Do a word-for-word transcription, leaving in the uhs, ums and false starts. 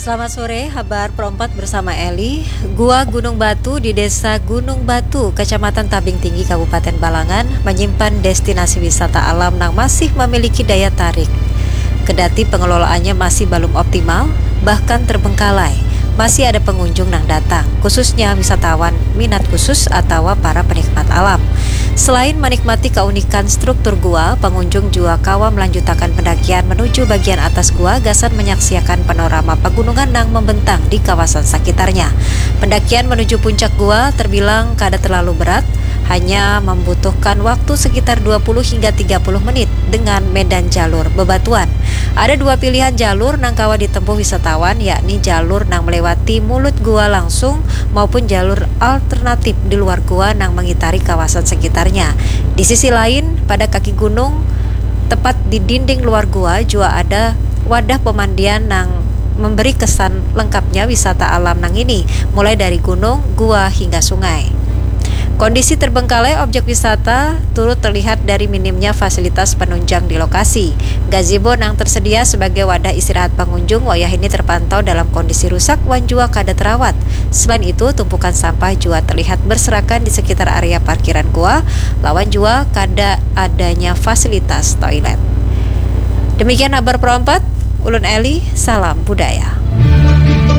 Selamat sore, habar perompat bersama Eli. Gua Gunung Batu di Desa Gunung Batu, Kecamatan Tabing Tinggi, Kabupaten Balangan, menyimpan destinasi wisata alam nang masih memiliki daya tarik. Kedati pengelolaannya masih balum optimal, bahkan terbengkalai, masih ada pengunjung nang datang, khususnya wisatawan minat khusus atawa para penikmat alam. Selain menikmati keunikan struktur gua, pengunjung jua kawa melanjutakan pendakian menuju bagian atas gua gasan menyaksiakan panorama pagunungan nang membentang di kawasan sakitarnya. Pendakian menuju puncak gua terbilang kada terlalu berat, hanya membutuhkan waktu sekitar dua puluh hingga tiga puluh menit dengan medan jalur bebatuan. Ada dua pilihan jalur nang kawa ditempuh wisatawan, yakni jalur nang melewati mulut gua langsung maupun jalur alternatif di luar gua nang mengitari kawasan sekitarnya. Di sisi lain, pada kaki gunung, tepat di dinding luar gua, jua ada wadah pemandian nang memberi kesan lengkapnya wisata alam nang ini, mulai dari gunung, gua, hingga sungai. Kondisi terbengkalai objek wisata turut terlihat dari minimnya fasilitas penunjang di lokasi. Gazebo nang tersedia sebagai wadah istirahat pengunjung wayah ini terpantau dalam kondisi rusak wan jua kada terawat. Selain itu, tumpukan sampah jua terlihat berserakan di sekitar area parkiran gua, lawan jua kada adanya fasilitas toilet. Demikian habar perompat, ulun Eli, salam budaya.